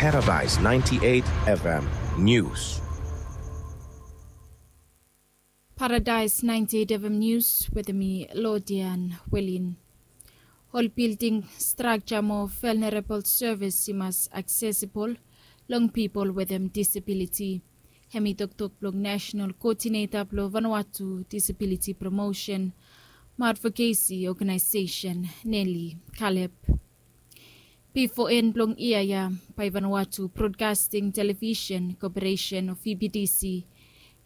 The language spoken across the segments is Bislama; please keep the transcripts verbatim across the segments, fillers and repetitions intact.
Paradise ninety-eight F M News. Paradise ninety-eight F M News wetem mi, Lodian Welin. Ol bilding strakja mo vulnerable service i mas aksesibol long pipol wetem disabiliti. Hemi toktok blong National Coordinator blong Vanuatu Disability Promotion mo Advocacy Organization, Nelly Caleb. Bifo en blong yia ya, bae Vanuatu Broadcasting Television Corporation o V B T C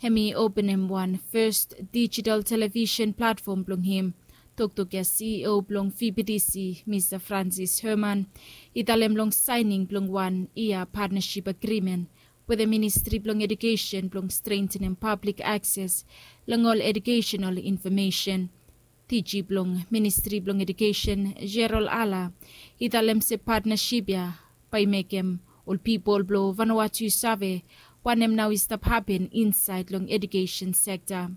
hemi openem wan first digital television platform blong hem. Toktok ya C E O blong V B T C, Mista Francis Herman, i talem long saening blong wan yia partnership agreement wetem Ministri blong Edukesen blong strengtenem pablik akses long ol edukesenal infomesen. Diji blong Ministri blong Edukesen, Gerald Ala, i talem se patnasip ya bae i mekem ol pipol blong Vanuatu i save wanem nao i stap hapen insaed long edukesen sekta.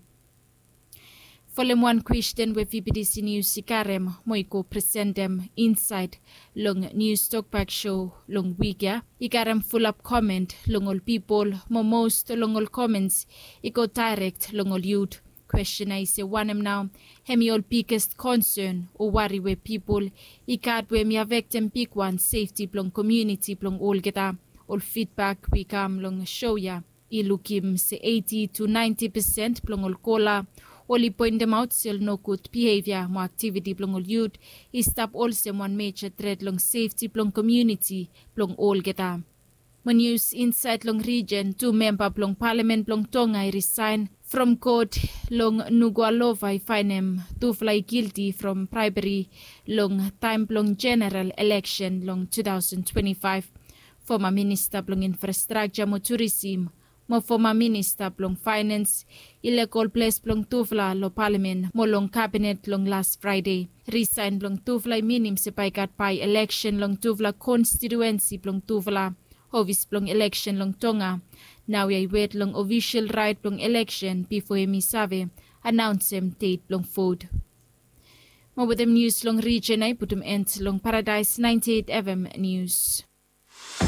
Folem wan kwesten we V B T C Nius i karem mo i go presentem insaed long Nius Tokbak Sho long wik ya, i karem fulap komen long ol pipol mo mos long ol komens i go daerek long ol yut. Kwesten ya i se wanem nao hemi ol biges konsen o wari we pipol i gat we hemi afektem bigwan sefti blong komuniti blong olgeta. Ol fidbak we i kam long sho ya i lukim se eiti tu naenti pesen blong ol kola oli poentemaot se ol nogud bihevia mo aktiviti blong ol yut i stap olsem wan meja tret long sefti blong komuniti blong olgeta. Mo nius insaed long rijen, tu memba blong palamen blong Tonga i risaen from kot long Nuku'alofa i faenem tufala i gilti from braebri long taem blong jeneral eleksen long tu taosen twenti faef. Foma Minista blong Infrastrakja mo Turisem mo foma Minista blong Faenans i lego ol ples blong tufala long palamen mo long kabinet long las Fraede. Risaen blong tufala i minim se bae i gat bae eleksen long tufala konstitiuensi blong tufala. Ofis blong eleksen long Tonga naoia i wet long ofisol raet blong eleksen bifo hemi save anaonsem det blong vot. Mo wetem nius long rijen ya i putum en long Paradaes naenti eit F M Nius.